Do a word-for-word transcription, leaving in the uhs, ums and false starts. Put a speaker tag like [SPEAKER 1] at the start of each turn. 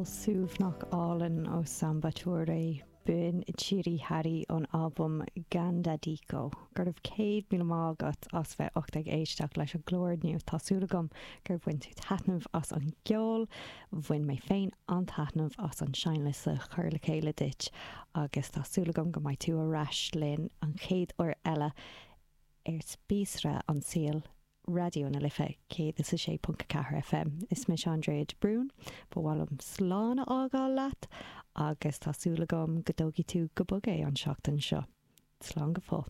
[SPEAKER 1] Ceol suaimhneach álainn ó Samba Touré b'in Tiri Harry ón albam Gandadiko. Go raibh céad míle maith agat as bheith ucht ag éisteacht leis an gclár inniu tá súil agam gur bhain tú taitneamh as an gceol, bhain mé féin an-taitneamh as an seinnliosta a chur le chéile duit agus tá súil agam go mbeidh tú ar ais linn an chéad uair eile ar Spíosra an tSaoil Raidió na Life céad is a sé ponc ceathair FM. Is mise Andrea de Brún, ba mhaith liom slán a fhágáil leat agus tá súil agam go dtógfaidh tú go bog é an seachtain seo. Slán go fóill.